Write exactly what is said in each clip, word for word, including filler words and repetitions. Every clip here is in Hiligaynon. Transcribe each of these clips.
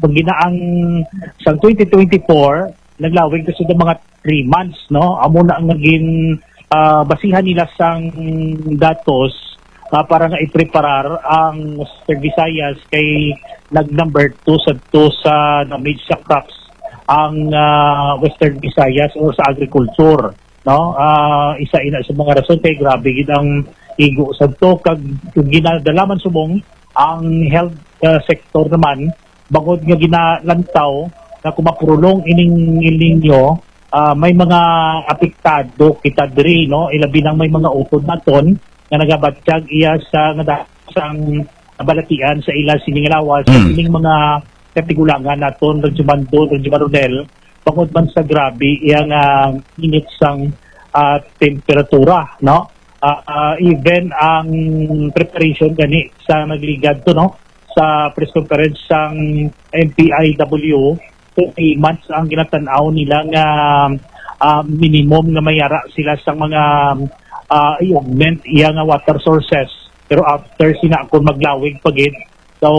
Ang ginaang sang twenty twenty-four, naglawig na sila mga three months, no? Amo na ang naging, ah, basihan nila sang datos, ah, para nga ipreparar ang Western Visayas kay nag number two sa to sa damage sa crops ang, ah, Western Visayas or sa agriculture, no? Ah, isa ina sa mga rason kay grabe gid ang igo sa to kag ginadalaman subong ang health, ah, sector naman bangod nga ginalantaw na kung mapurulong ining El Nino, ah, may mga apektado kita diri, no? Ilabi nang may mga utod naton nga nagabatyag iya sa nga da- sang balatian sa ila sining lawas sa Mm. sining mga katigulangan naton, Radyo Mandon, Radyo Maronel, bangod man sa grabe iya nga init sang, ah, temperatura, no? Ah, ah, even ang preparation gani sa nagligad to, no? Sa press conference sang M P I W, three months ang ginatan-aw nila nga, ah, minimum nga mayara sila sa mga, ah, i-augment iya nga water sources. Pero after sina kung maglawig pa gid, so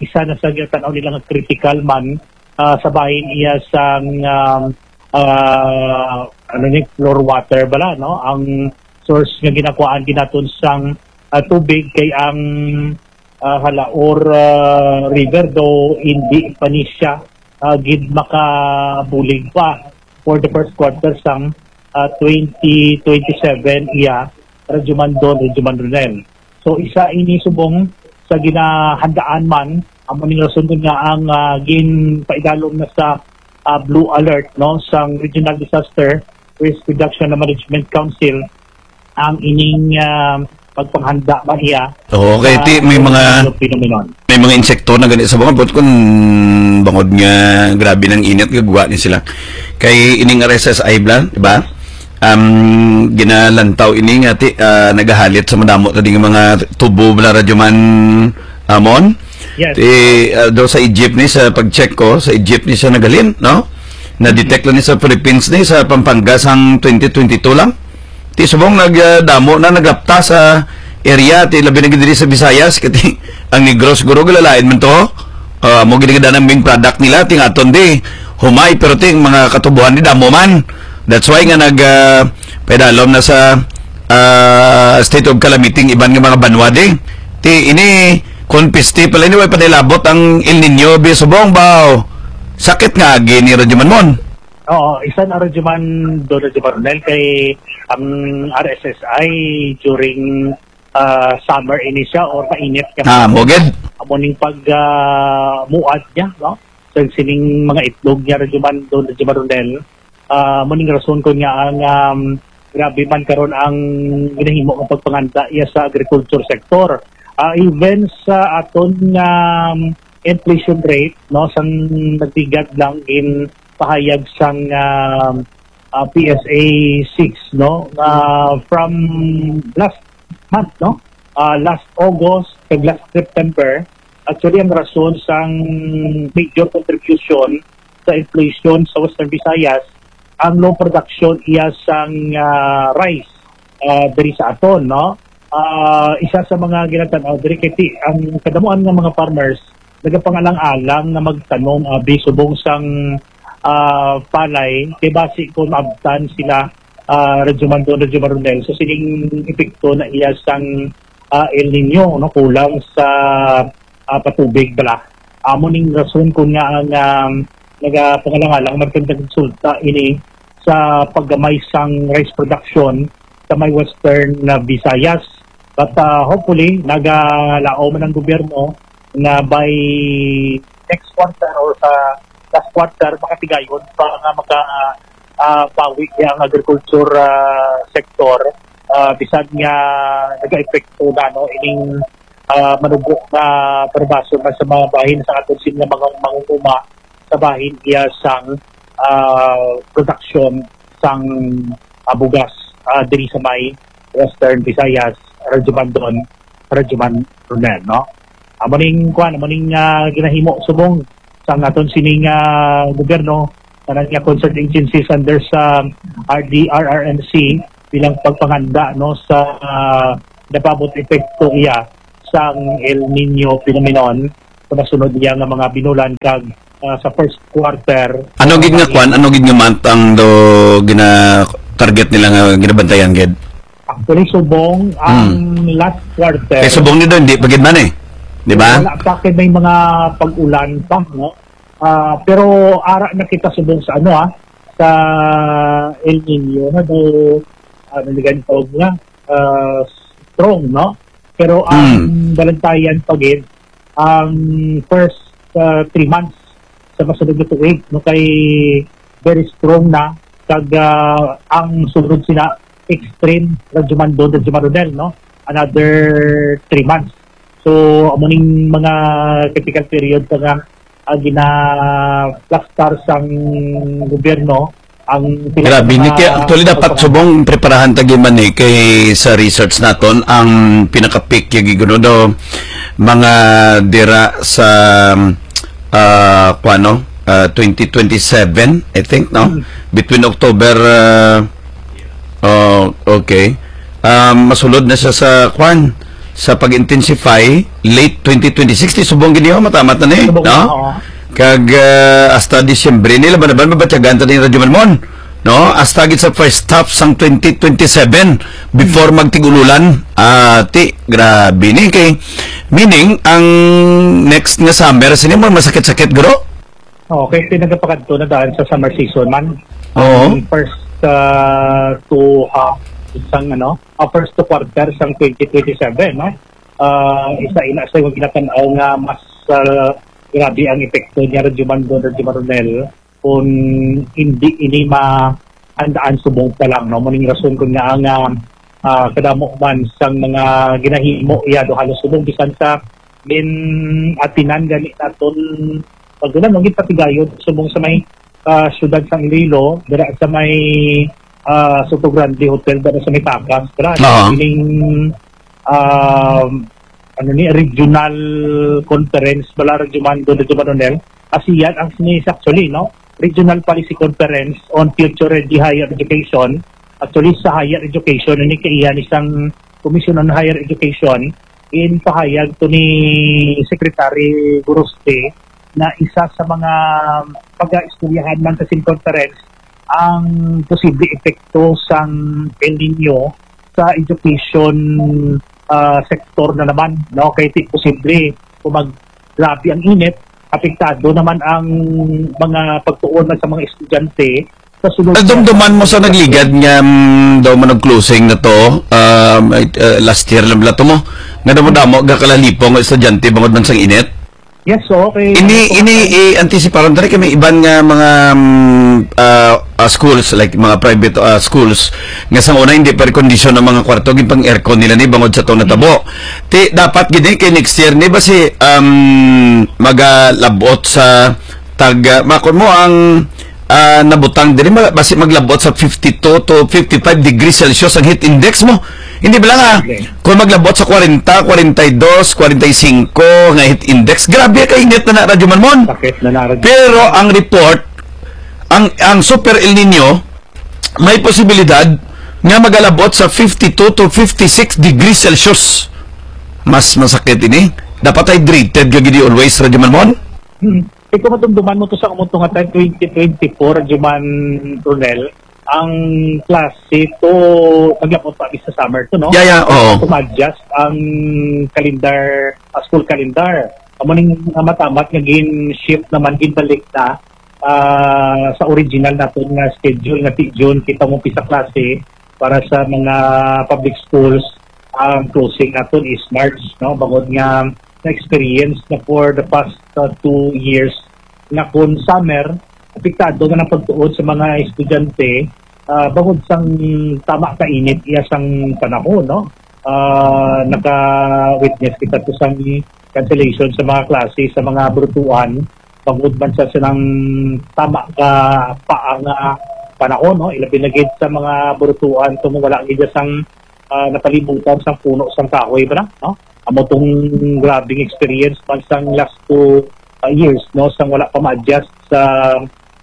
isa na sa ginatan-aw nila nga critical man, ah, sa bahin iya sang, um, ah, ano ni, floor water bala, no? Ang source nga ginakuhaan ginaton sang, ah, tubig kay ang, ah, Jalaor, ah, River do hindi pa ni siya, ah, gid makabulig pa for the first quarter sang, ah, twenty twenty-seven iya, Radyo Mandon, Radyo Mandonel. So, isa ini subong sa ginahandaan man, amo ning rason kun nga ang, ah, ginpaidalom na sa, ah, blue alert, no, sang Regional Disaster Risk Reduction and Management Council ang ining, ah, pagpanghanda man iya Okay, sa ti, may mga phenomenon. May mga insekto na gani sa bungabot kung bangod nga grabe ng init, gagwa ni sila. Kay ining R S S I bla, di ba? Um, ginalantaw ini nga ti, ah, nagahalit sa madamo ta ding mga tubo bla, Radyo Man Amon. Yes. Ti, ah, daw sa Egypt ni, sa pag-check ko, sa Egypt ni siya nagalin, no? Na-detect lang ni sa Philippines ni, sa Pampanga sang twenty twenty-two lang. Ti subong nag, ah, damo na naglapta sa area, ti labi na gid diri sa Visayas, kati ang Negros guro galalain man to. Ah, mo gid ang main product nila, ti nga aton di humay, pero ti ang mga katubuhan di damo man. That's why nga nag, ah, pedalom na sa, ah, state of calamity ang iban nga mga banwa di. Ti ini kon piste pala ini, way pa nilabot ang El Nino, bi subong baw. Sakit nga agi ni Radyo Manmon. Oo, isa na Radyo Mandon, Radyo Maronel, kay ang R S S I during, ah, summer ini siya or mainit ka Ah, mo gid. Amo ning pag, ah, muad niya, no? Sa sining mga itlog niya, Radyo Mandon, Radyo Maronel. Ah, amo ning rason ko nga ang, um, grabe man karon ang ginahimo nga pagpanganta iya sa agriculture sector. Ah, even sa aton nga, um, inflation rate, no, sang nagligad lang ginpahayag sang, um, ah, P S A six, no, nga from last month, no, ah, last August kag last September, actually ang rason sang major contribution sa inflation sa Western Visayas ang low production iya sang, ah, rice, ah, diri sa aton, no? Ah, isa sa mga ginatanaw diri kay ti-, ang kadamuan nga mga farmers nagapangalang-alang nga magtanom abi subong sang, ah, palay kay basi kung maabtan sila, ah, Radyo Mandon, Radyo Maronel, sa sining epekto na iya sang, ah, El Nino, no, kulang sa, ah, patubig bala. Amo ning rason kun nga ang, um, nagapangalang-alang magkagdag resulta ini sa paggamay sang rice production sa may Western, uh, Visayas. But, uh, hopefully, nagalaom man ang gobyerno na by next quarter or sa last quarter, makatigayon pa nga maka, ah, pawi niya ang agriculture, ah, sector, ah, bisan nga nag-epekto na, no, ining, ah, manubo nga perbaso man sa mga bahin sa aton sin nga mga mangunguma sa bahin iya sang, ah, production sang, ah, bugas, ah, diri sa may Western Visayas, Radyo Bandon, Radyo Man Ronel, no? Amo ning kuan, amo ning, ah, ginahimo subong sa aton sining, ah, gobyerno, tanan nga concerned agencies under sa R D R R M C bilang pagpanganda, no, sa, ah, napabot epekto iya sang El Nino phenomenon. sa masunod niya nga mga binulan kag, ah, sa first quarter. Ano gid nga kwan? Ano gid nga month ang do gina-target nila nga ginabantayan gid? Actually, subong ang last quarter. Kay subong ni do, hindi pa gid man eh. Di ba? Wala pa kay may mga pag-ulan pa, no? Ah, pero ara na kita subong sa ano, ah, sa El Nino, na do, ano ni ganito nga, ah, strong, no? Pero ang balantayan pa gid, ang first, ah, three months sa masunod nga tuig, no, kay very strong na, kag, ah, ang sunod sila extreme, Radyo Mandon, Radyo Maronel, no? Another three months. So, amo ning mga critical period pa nga, ah, ginaplastar sang gobyerno ang pila Grabe, ka ni mga kaya actually dapat pagpapang- subong preparahan ta gid man ni kay sa research naton ang pinaka-peak yung giguno do mga dira sa ah kuano ah, twenty twenty-seven, I think, no, between October ah, oh, okay. Um, masulod na siya sa kwan sa pag-intensify late twenty twenty-six, ti subong gid niyo matamat na ni, Subong no? na, oo. Kag ah, hasta Disyembre ni laban-laban mabatyagan ta ni Radyo Malmon, no? Hasta gid sa first half sang twenty twenty-seven before magtigululan. Ah, ti grabe ni kay meaning ang next nga summer sini mo masakit-sakit, guro? Okay, pinagapakadto na daan sa summer season man. Oo. Ang first uh, two half isang ano, uh, first two quarter sang twenty twenty-seven, no? Uh, isa ina sa mga ginatanaw nga mas uh, grabe ang epekto niya, Radyo Mandon, Radyo Maronel, kung hindi ini ma andaan subong pa lang, no? Muning rason kun nga ang ah, kadamo man sang mga ginahimo iya do halos subong bisan sa gin-atinan gani naton pagdulan, no, gipatigayon subong sa may ah, syudad sang Iloilo, dira sa may ah, Soto Grande Hotel, dira sa may Pakas, dira Oo. Ining um, ano ni regional conference bala, Radyo Mandon, Radyo Maronel, ASEAN ang sinis actually, no, Regional Policy Conference on Future Ready Higher Education. Actually, sa higher education, ini kaiya ni sang Commission on Higher Education, in pahayag to ni Secretary Goroste na isa sa mga pag-istoryahan man sa sin conference ang posible epekto sang El Nino sa education ah, sector na naman, no? Kay ti posible kung mag grabe ang init, apektado naman ang mga pagtuon man sa mga estudyante sa sulod. Nadumduman mo sa nagligad nga mm, daw man og closing na to um, uh, last year lang bala to mo nga damo-damo gakalalipong ang estudyante bangod man sang init. Yes, so okay. Ini ini i-antisiparon diri kay may iban nga mga mm, ah, ah, schools, like mga private ah, schools, nga sa una hindi pa kondisyon ang mga kwarto, gipang aircon nila ni bangod sa tong natabo. Ti dapat gid ni kay next year ni ba si um, magalabot sa tag ah, makon mo ang ah, nabutang diri ma- basi maglabot sa fifty-two to fifty-five degrees Celsius ang heat index mo. Hindi ba lang ah, Okay. kung maglabot sa forty, forty-two, forty-five nga heat index, grabe ka init na na, Radyo Malmon. Sakit na narag. Pero ang report, ang ang Super El Nino may posibilidad nga magalabot sa fifty-two to fifty-six degrees Celsius. Mas masakit ini. Dapat hydrated ka gid always, Radyo Malmon. Hmm. Ikaw, madumduman mo to sa umutong nga time, twenty twenty-four, Juman Ronel, ang klase to, naglapot pa sa summer to, no? Yeah, yeah, oo. Kung adjust ang calendar, ah, school calendar. Amo ning, ah, matamat nga gin-shift naman, ginbalik na ah, sa original naton nga schedule nga ti June kita mo pisa klase para sa mga public schools. Ang closing naton is March, no? Bangod nga na-experience na for the past uh, two years na kung summer, apektado na ang pagtuon sa mga estudyante, ah, bangod sang tama ka init iya sang panahon, no? Ah, naka-witness kita to sang cancellation sa mga klase sa mga brutuan, bangod man sa silang tama ka pa ang ah, panahon, no? Ilabi na gid sa mga brutuan kung wala gid sang ah, napalibutan sang puno sang kahoy ba na, no? Amo tong grabing experience man sang last two ah, years, no, sang wala pa ma-adjust sa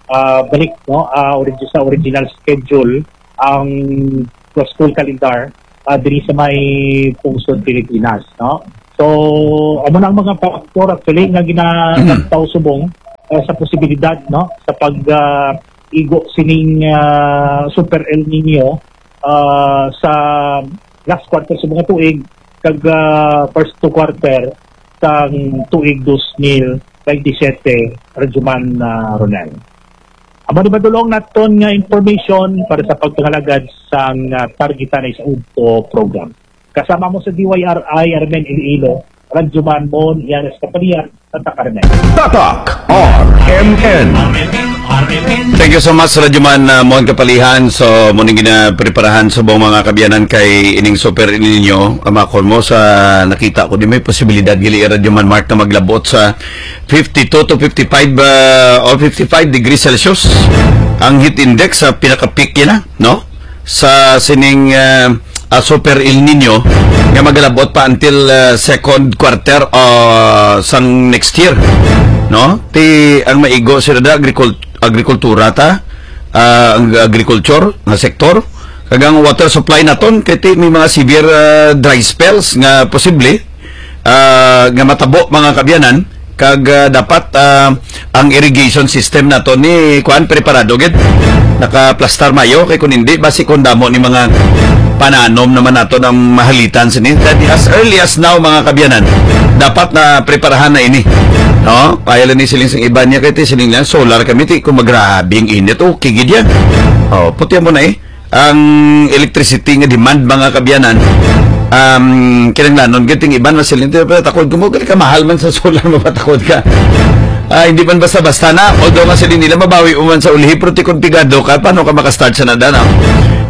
ah, balik, no, ah, origi- sa original schedule ang school calendar ah, diri sa may pungsod Pilipinas, no? So, amo na ang mga factor actually nga ginalantaw subong, ah, sa posibilidad, no, sa pag, ah, igo sining, ah, Super El Nino, ah, sa last quarter sa mga tuig kag, ah, first two quarter sang tuig dos mil baynte siyete, Radyoman, ah, Ronel. Amo ni madulong naton nga information para sa pagpangalagad sang, ah, Targetanay sa Udto program. Kasama mo sa D Y R I, Armen Iloilo, Radyoman Mon Yanes Kapalian, Tatak Armen. Tatak R M N. Thank you so much, Radyoman, uh, Mon Kapalihan. So, muna ginapreparahan sa buong mga kabiyanan kay ining Super El Nino. Kamakon mo sa nakita ko, di may posibilidad gali, Radyoman Mark, na maglabot sa fifty-two to fifty-five, uh, or fifty-five degrees Celsius ang heat index sa pinaka-peak niya na, no? Sa sining, uh, uh, Super El Nino nga magalabot pa until, uh, second quarter, uh, sang next year, no? Ti ang maigo sila da agricult-, agrikultura ta, uh, ang agriculture nga sektor, kag ang water supply naton kay ti may mga severe, uh, dry spells nga posible, ah, nga matabo, mga kaabyanan, kag, ah, dapat, ah, ang irrigation system nato ni kuan preparado gid, nakaplastar mayo, kay kun hindi, basi kun damo ni mga pananom naman nato ang mahalitan sini. That as early as now, mga kaabyanan, dapat na preparahan na ini, no? Kaya lang ni siling sang iban niya, kay ti siling niya, "Solar kami, ti kung magrabe ang init, okay gid yan." Oh, puti mo na eh. Ang electricity nga demand, mga kaabyanan, um, kinahanglanon gid ting iban masiling, "Pero takod ko mo, gali ka mahal man sa solar, mapatakod ka." Ah, hindi man basta-basta na, although nga sila nila mabawi mo man sa ulhi, pero ti kon pigado ka, paano ka makastart sa nada, no?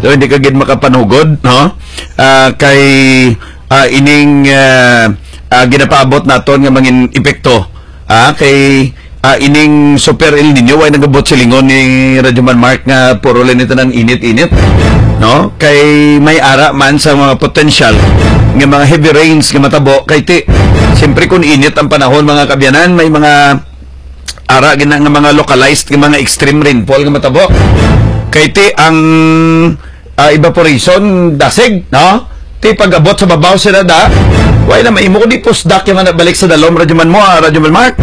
So, hindi ka gid makapanugod, no? Ah, kay, ah, ining, ah, ah, ginapaabot naton nga mangin epekto, ah, kay, ah, ining Super El Nino, way nagabot silingon ni Radyo Man Mark nga puro lang ito ng init-init, no? Kay may ara man sa mga potential nga mga heavy rains nga matabo, kay ti, siyempre, kung init ang panahon, mga kaabyanan, may mga ara gina nga mga localized nga mga extreme rainfall nga matabo. Kay ti ang, ah, evaporation dasig, no? Ti pag-abot sa babaw sila da, way na maimo kundi pusdak yung nga balik sa dalom, Radyo Man mo, ah, Radyo Man Mark.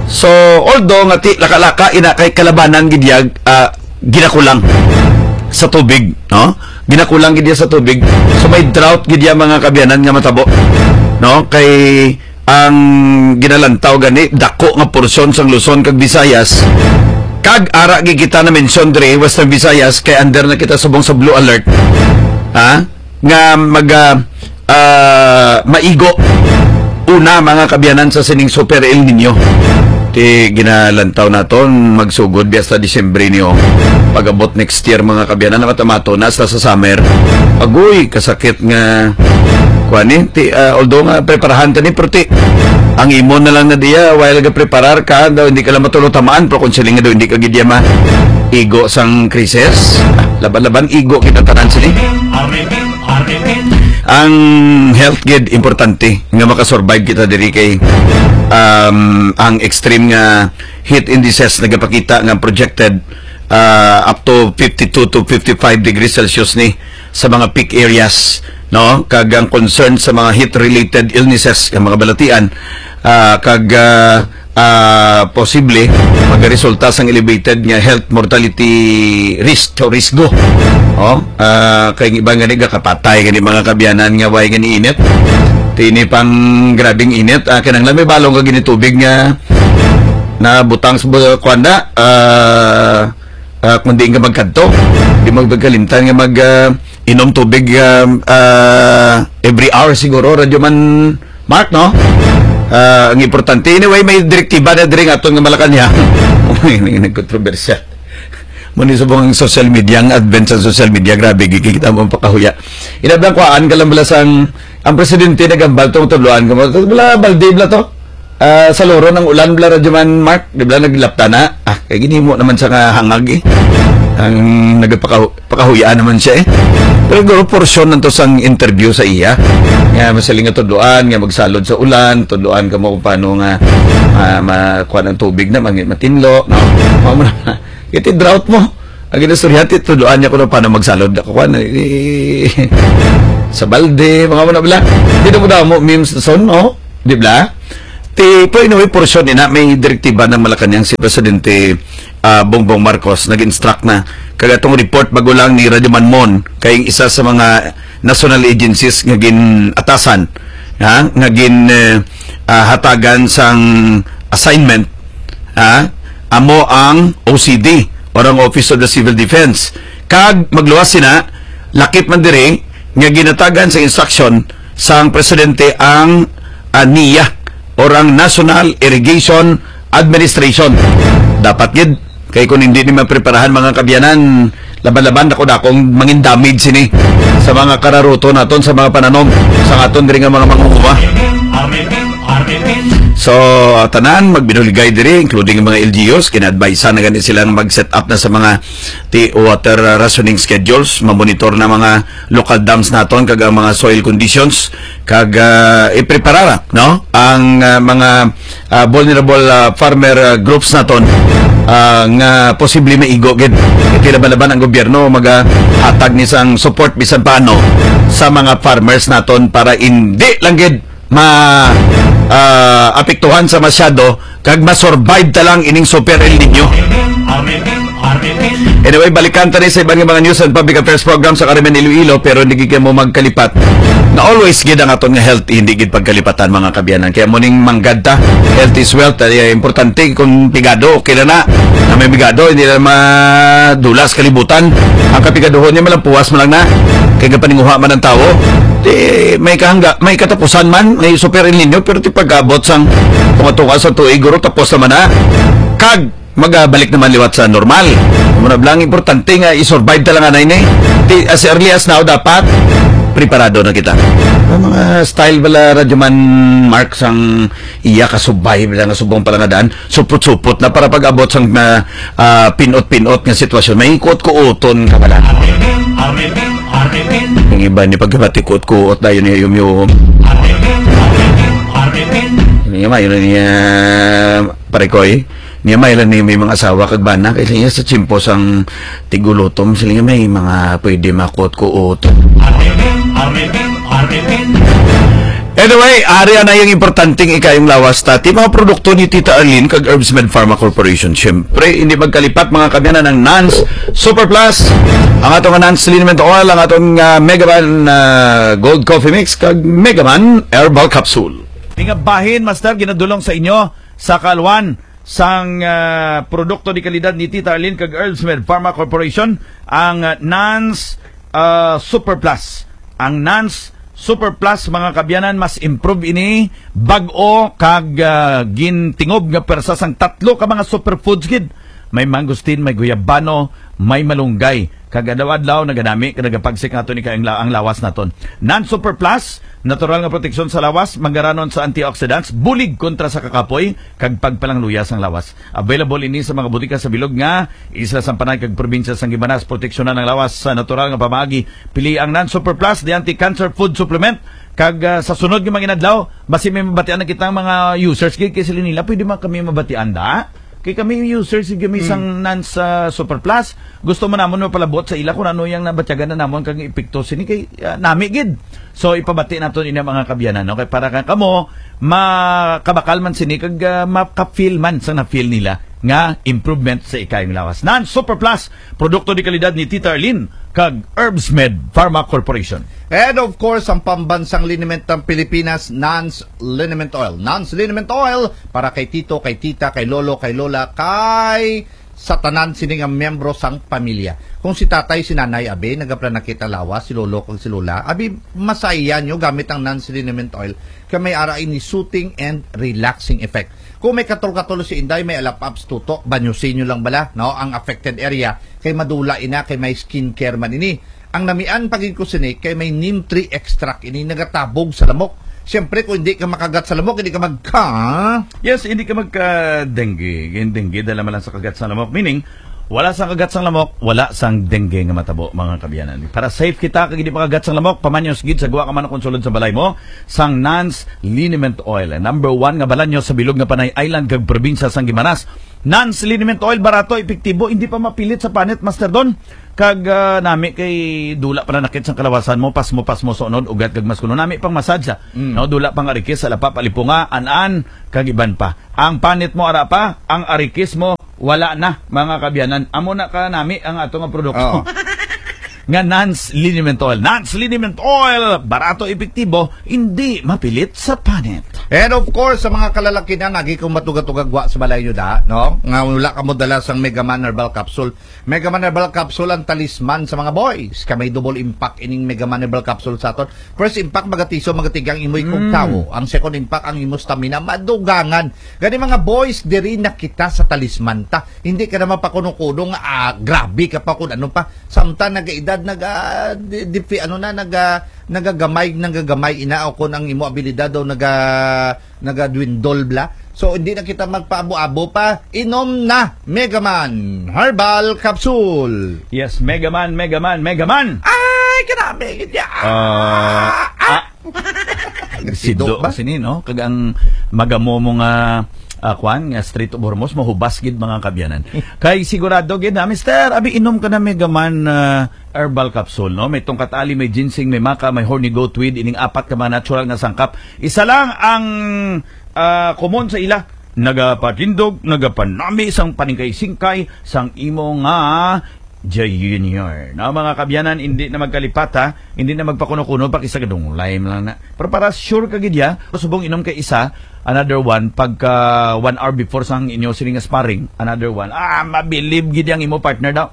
So, although nga ti laka-laka ina kay kalabanan gid ya, ah, ginakulang sa tubig, no? Ginakulang gid ya sa tubig. So, may drought gid ya, mga kaabyanan, nga matabo, no? Kay ang ginalantaw gani, dako nga porsyon sang Luzon kag Visayas, kag ara gid kita na mention diri, Western Visayas, kay under na kita subong sa blue alert, ha? Nga mag, ah, ah, maigo una, mga kaabyanan, sa sining Super El Nino. Ti ginalantaw naton magsugod biya sa Disyembre niyo. Pag-abot next year, mga kaabyanan, na matamato na sa, sa summer. Agoy, kasakit nga kuan ni. Ti, ah, although nga preparahan ka ni, pero ti, ang imo na lang na diya, while ga preparar ka, daw hindi ka lang matulo tamaan, pero kung siling nga daw hindi ka gid ya ma igo sang krisis, ah, laban-laban, igo kita tanan sini. Ang health gid importante nga makasurvive kita diri kay, um, ang extreme nga heat indices nagapakita nga projected, ah, up to fifty-two to fifty-five degrees Celsius ni sa mga peak areas, no? Kag ang concern sa mga heat-related illnesses, ang mga balatian, ah, kag, ah, ah, posible magaresulta sang elevated nga health mortality risk o risgo. Oh, ah, kay ang iban gani gakapatay gani, mga kaabyanan, nga way gani init. Tini pang grabing init, ah, kinahanglan may balong ka gini tubig nga nabutang sa bu-, kuwan na, ah, ah, kung diin ka magkadto, di magkalimtan nga mag, ah, inom tubig, ah, ah, every hour siguro, Radyo Man Mark, no? Ah, ang importante. Anyway, may direktiba na diri nga aton nga Malacañang. May nagkontrobersya. Muni subong ang social media, ang advent sa social media, grabe, gikita mo ang pakahuya. Inabang kuhaan ka lang bala sang, ang presidente nagambal tong tudloan ka mo. Bala, balde bala to. Ah, sa Loron ang ulan, bala, Radyo Man Mark, di bala naglapta na? Ah, kay ginimo naman sa kahangag eh. Ang nagapakahu-, pakahuyaan naman siya eh. Pero siguro porsyon nanto sang interview sa iya. Nga masiling nga tudloan, nga magsalod sa ulan, tudloan ka mo kung paano nga, ah, ma-, kuwan ang tubig na, mangin-, matinlo, no? Mao mo na. Iti drought mo. Ang ginastorya, ti tudloan niya ko na paano magsalod. Ako, kuwan, eh, Sa balde, mga wala bala. Di na mo damo memes na son, no? Di bala? Ti, pero anyway, portion ina, may direktiba ng Malacañang si Presidente, ah, Bongbong Marcos. Nag-instruct na. Kag atong report bago lang ni Radyo Manmon, kay isa sa mga national agencies nga gin-atasan, ha? Nga gin, eh, ah, hatagan sang assignment, ha? Amo ang O C D, or ang Office of the Civil Defense. Kag magluwas sina, lakip man diri nga ginatagan sa instruction sang presidente ang, ah, NIA, or ang National Irrigation Administration. Dapat gid, kay kung hindi ni mapreparahan, mga kabyanan, laban-laban ako dakong mangin damage sini sa mga kararuto naton, sa mga pananom, sa aton diri nga mga manguha. So, tanan, magbinuligay diri, including mga L G Us, kina-advise na gani sila nga mag-set up na sa mga ti water, uh, rationing schedules, mamonitor na mga local dams naton, kag ang mga soil conditions, kag, uh, iprepara, no, ang, uh, mga, uh, vulnerable, uh, farmer, uh, groups naton, uh, nga posible maigo gid. Kay laban-laban ang gobyerno magahatag ni sang support bisan paano sa mga farmers naton para hindi lang gid ma, ah, apektuhan sa masyado kag ma-survive ta lang ining Super El Nino. Anyway, balikan ta ni sa iban nga mga news and public affairs program sa Karimen Iloilo, pero hindi gid mo magkalipat na always gid ang aton nga health, hindi gid pagkalipatan, mga kabyanan. Kaya mo ning manggad ta, health is wealth. Ay, importante kung pigado, okay na na. Na may pigado, hindi na madulas kalibutan. Ang kapigaduhon niya, malampuwas mo lang na. Kay kapaninguha man ang tawo. Di, may kahangga, may katapusan man, may Super El Nino, pero ti pag-abot sang tunga-tunga sa tuig, guro, tapos naman na. Kag, magabalik naman liwat sa normal. Muna lang importante nga i-survive ta lang anay ni. Ti, as early as now, dapat preparado na kita. Ang mga style bala, Radyo Man Mark, sang iya kasubay bala nga subong palangadaan, supot-supot na para pag-abot sang na, ah, pinot-pinot nga sitwasyon. May kuot-kuoton ka bala. Ang iba ni pagkabati kuot-kuot dayon ni yum-yum. Ano nga ba yun ni, ah, pare ko eh? Niya may lang ni may mga asawa kag bana kay niya sa tsimpo sang tigulutom sila nga may mga pwede makuot-kuot. Anyway, ari na yung importanteng ikayong lawas ta. Ti mga produkto ni Tita Arlene kag Herbs Med Pharma Corporation. Siyempre, hindi magkalipat, mga kabyanan, ang Nans Super Plus, ang atong Nans Liniment Oil, ang atong, ah, Megaman, ah, Gold Coffee Mix, kag Megaman Herbal Capsule. Di nga bahin, Master, ginadulong sa inyo sa kaalwan sang, ah, produkto di kalidad ni Tita Arlene kag Herbs Med Pharma Corporation, ang, ah, Nans, ah, Super Plus. Ang Nans Super Plus, mga kabyanan, mas improve ini, bag-o kag, ah, gintingob nga pwersa sang tatlo ka mga superfoods gid. May mangosteen, may guyabano, may malunggay. Kag adlaw-adlaw naganami kag nagapagsik nato ni kay ang, la- ang lawas naton. Nans Super Plus, natural nga proteksyon sa lawas, manggaranon sa antioxidants, bulig kontra sa kakapoy, kag pagpalangluya sang lawas. Available ini sa mga butika sa bilog nga isla sang Panay kag probinsya sang Guimaras. Proteksyonan ang lawas sa natural nga pamaagi. Pili ang Nans Super Plus, the anti-cancer food supplement. Kag, ah, sa sunod nga mga inadlaw, basi may mabatian na kitang mga users gid kay sila nila, pwede man kami mabatian da. Kay kami users gid kami Hmm. sang Nans, ah, Super Plus. Gusto man namon mapalabot sa ila kung ano yang nabatyagan na namon kag epekto sini kay, ah, nami gid. So ipabati naton ini, mga kabyanan, no? Kay para ka kamo makabakal man sini kag, ah, maka-feel man sa na-feel nila nga improvement sa ikayong lawas. Nans Super Plus, produkto di kalidad ni Tita Arlene kag Herbs Med Pharma Corporation. And of course, ang pambansang liniment ng Pilipinas, Nans Liniment Oil. Nans Liniment Oil para kay tito, kay tita, kay lolo, kay lola, kay sa tanan sini nga miyembro sang pamilya. Kung si tatay, si nanay, abi, nagaplanakit ang lawas, si lolo kag si lola, abi, masaya nyo gamit ang Nans Liniment Oil kay may ara ini soothing and relaxing effect. Kung may katol-katol si inday, may alap-aps tutok, banyusin nyo lang bala, no, ang affected area, kay madula ina, kay may skincare man ini. Ang namian pa gid ko sini kay may neem tree extract ini, nagatabog sa lamok. Siyempre, kung hindi ka makagat sa lamok, hindi ka magka- Yes, hindi ka magka-dengue. Yung dengue, dala man lang sa kagat sa lamok. Meaning, Wala sang kagat sang lamok, wala sang dengue nga matabo, mga kaabyanan. Para safe kita kag hindi makagat sang lamok, pamanyos gid sa gwa ka man o kon sulod sa balay mo sang Nans Liniment Oil. Number one nga balanyo sa bilog nga Panay Island kag probinsya sang Guimaras. Nans Liniment Oil, barato, epektibo, hindi pa mapilit sa panit, Master Don. Kag, ah, nami kay dula pa nanakit sang kalawasan mo, pasmo-pasmo sa unod, ugat kag mas kuno nami pang massage, ah. Mm. No, dula pang arikis, alapa, palipunga, an-an, kag iban pa. Ang panit mo ara pa, ang arikis mo wala na, mga kaabyanan. Amo na ka nami ang ato nga produkto. Oo. Nga Nans Liniment Oil. Nans Liniment Oil, barato, epektibo, hindi mapilit sa panit. And of course, sa mga kalalakinan, lagi kong matuga-tuga gwa sa balay nyo da, no? Nga wala ka mo dala sang Mega Man Herbal Capsule. Mega Man Herbal Capsule ang talisman sa mga boys. Kay may double impact ining Mega Man Herbal Capsule sa aton. First impact, magatiso, magatigang imo ikog Mm. tawo. Ang second impact, ang imo stamina, madugangan. Gani, mga boys, diri na kita sa talisman ta. Hindi ka na mapakuno-kuno nga, ah, grabe ka pa kung ano pa. Samtang nag-edad, nag, ah, di, di, ano na, nag, ah, nagagamay, nagagamay ina, o kung ang imo abilidad daw naga, nagadwindol bla. So, hindi na kita magpaabo-abo pa. Inom na, Mega Man Herbal Capsule. Yes, Mega Man, Mega Man, Mega Man. Ay, grabe gid ya. Ah, ah. Sido Sido ba? Sini, no? Kag ang magamo mo nga, ah, kwan, nga Strait of Hormuz, mahubas gid, mga kaabyanan. Kay sigurado gid na, Mister, abi, inom ka na Mega Man, ah, Herbal Capsule, no? May tungkat ali, may ginseng, may maca, may horny goat weed, ining apat ka mga natural nga sangkap. Isa lang ang, ah, komon sa ila. Nagapatindog, nagapanami sang paningkay-singkay sang imo nga Junior. No, mga kaabyanan, hindi na magkalipat, ha? Hindi na magpakuno-kuno, pakisagadunglay man lang na. Pero para sure ka gid ya, subong inom ka isa, another one, pagka one hour before sang inyo sini nga sparring, another one. Ah, mabilib gid ang imo partner daw.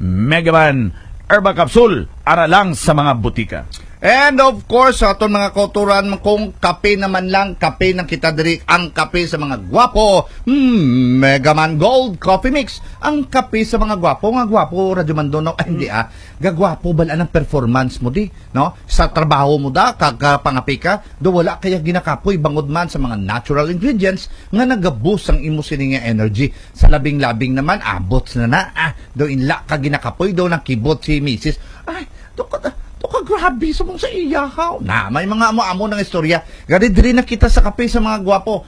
Mega Man Herbal Capsule, ara lang sa mga butika. And of course, sa aton mga kauturan, kung kape naman lang, kape nang kita diri, ang kape sa mga gwapo, hmm, Mega Man Gold Coffee Mix, ang kape sa mga gwapo, nga gwapo, Radyo Mandonaw, ay, hindi, ah, gagwapo, bala ang performance mo, di, no? Sa trabaho mo da, kag, ah, pangape ka, do wala kaya ginakapoy, bangod man sa mga natural ingredients nga nagabus ang imo sini nga energy. Sa labing-labing naman, abots na na, ah, do inla ka ginakapoy, do nakibot si misis. Ay, to ka, to ka grabe sa mong sa iya, ha? Na, may mga amo-amo ng istorya. Gani, diri na kita sa kape sa mga gwapo.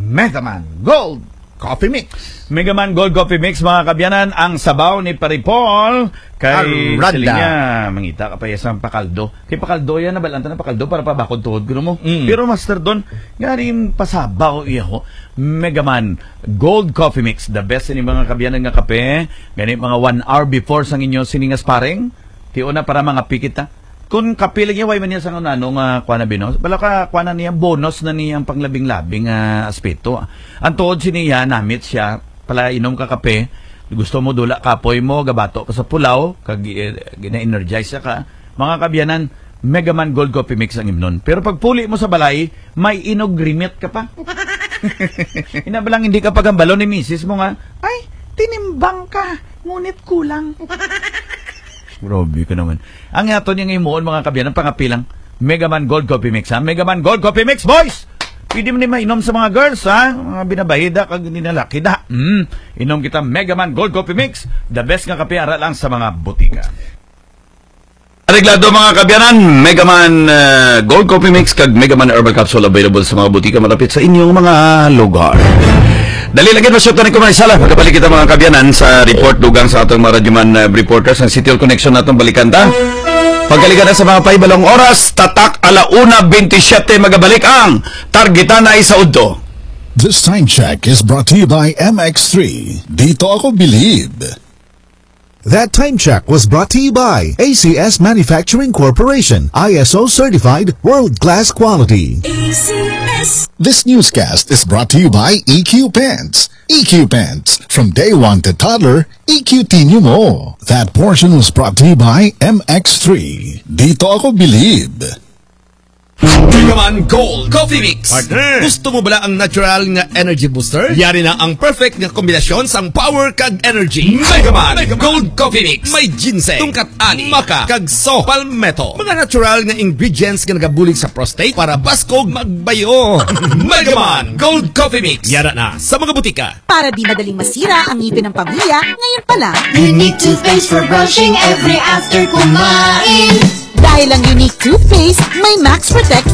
Mega Man Gold Coffee Mix. Mega Man Gold Coffee Mix, mga kaabyanan, ang sabaw ni Pare Paul kay Aranda. Siling niya, mangita ka pa iya sang pakaldo. Kay pakaldo yan, nabalaan ta na pakaldo para pabakod tuhod ko mo. Mm. Pero Master Don, nga rin pasabaw iya ho. Mega Man Gold Coffee Mix, the best ini mga kaabyanan nga kape. Gani mga one hour before sang inyo sini nga sparring, tion na para mga pikit, ha. Kung kape lagi, way man niya sa ano nga kuha na binos. Bala ka, kuha na niya, bonus na niya ang panglabing-labing nga aspeto. Ang tuod siniya, namit siya, pala inom ka kape, gusto mo dula kapoy mo, gabato ka sa pulaw, kag, eh, gina-energize ka. Mga kaabyanan, Mega Man Gold Coffee Mix ang imnon. Pero pag puli mo sa balay, may inogrimit ka pa. Ina ba lang hindi ka pagambalon ni misis mo nga, "Ay, tinimbang ka, ngunit kulang." Grabe ka naman. Ang ato niya nga himuon, mga kaabyanan, pangape lang. Mega Man Gold Coffee Mix, ha? Mega Man Gold Coffee Mix, boys! Pwede mo ni mainom sa mga girls, ha? Mga binabahida, kag hindi na laki da. Mm. Inom kita Mega Man Gold Coffee Mix, the best nga kape, ara lang sa mga butika. Areglado, mga kaabyanan, Mega Man, uh, Gold Coffee Mix kag Mega Man Herbal Capsule available sa mga butika malapit sa inyong mga lugar. Dali lang gid, masyutan ko may sala. Magkabalik kita, mga kaabyanan, sa report dugang sa atong mga radyoman, uh, reporters. Ang City Hall Connection natong balikan ta. Pagkalikan na sa mga pahibalong oras, tatak ala una bentisiete, magabalik ang Targitanay sa Udto. This time check is brought to you by M X three. Dito ako bilib. That time check was brought to you by A C S Manufacturing Corporation, I S O certified, world-class quality. A C S. This newscast is brought to you by E Q Pens. E Q Pens. From day one to toddler, E Q T nyo mo. That portion was brought to you by M X three. Dito ako bilib. Megaman Gold Coffee Mix. Partner. Gusto mo bala ang natural nga energy booster? Yari na ang perfect nga kombinasyon sang power kag energy. Megaman Gold Coffee Mix. May ginseng, tungkat ali, maca, kag so, palmetto. Mga natural nga ingredients nga nagabulig sa prostate para baskog magbayo. Megaman Gold Coffee Mix. Yara na sa mga butika. Para di madaling masira ang ngipin ng pamilya, ngayon pa lang. Unique toothpaste for brushing every after kumain. Dahil ang Unique Toothpaste may Max Protect